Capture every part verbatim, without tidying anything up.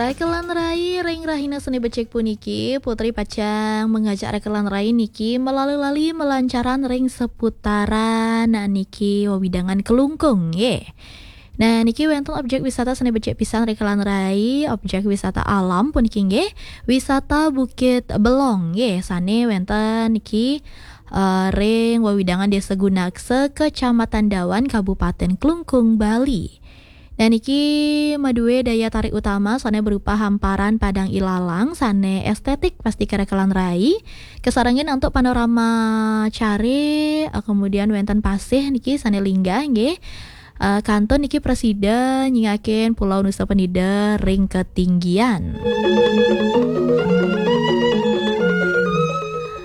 Rekelan rai ring rahina Senin becik puniki, Putri pacang mengajak rekelan rai niki melali-lali melancaran ring seputaran niki wewidangan Klungkung nggih. Nah, niki wenten objek wisata Senin becik pisan rekelan rai, objek wisata alam puniki nggih, wisata Bukit Belong nggih, sane wenten niki eh, ring wewidangan Desa Gunaksa, Kecamatan Dawan, Kabupaten Klungkung, Bali. Dan niki madue daya tarik utama sane berupa hamparan padang ilalang sane estetik pastika rekelan rai, kasarengin antuk panorama care, eh, kemudian wenten pasih niki sane linggah nggih. Eh, kantun niki prasida nyingakin Pulau Nusa Penida ring ketinggian.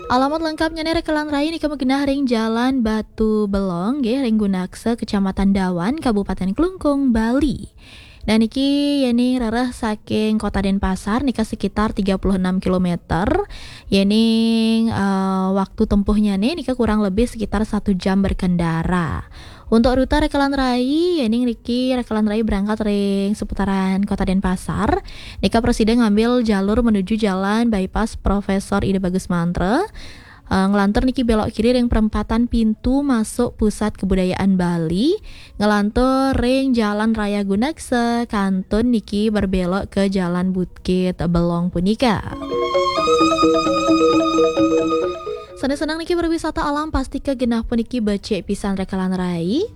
Alamat lengkapnya nih rekelan rai nika magenah ring Jalan Batu Belong nggih, ring Gunaksa, Kecamatan Dawan, Kabupaten Klungkung, Bali. Dan niki yening rereh saking Kota Denpasar nika sekitar tiga puluh enam kilometer. Yening eh, waktu tempuhnya nih nika kurang lebih sekitar satu jam berkendara. Untuk rute rekelan rai, yening niki rekelan rai berangkat ring seputaran Kota Denpasar, nika prasida ngambil jalur menuju Jalan Bypass Profesor Ida Bagus Mantra. Eh, ngelantur niki belok kiri ring perempatan pintu masuk Pusat Kebudayaan Bali, ngelantur ring Jalan Raya Gunaksa, kantun niki berbelok ke Jalan Bukit Belong punika. Sane senang niki berwisata alam, pastika genah puniki becik pisan rekelan rai.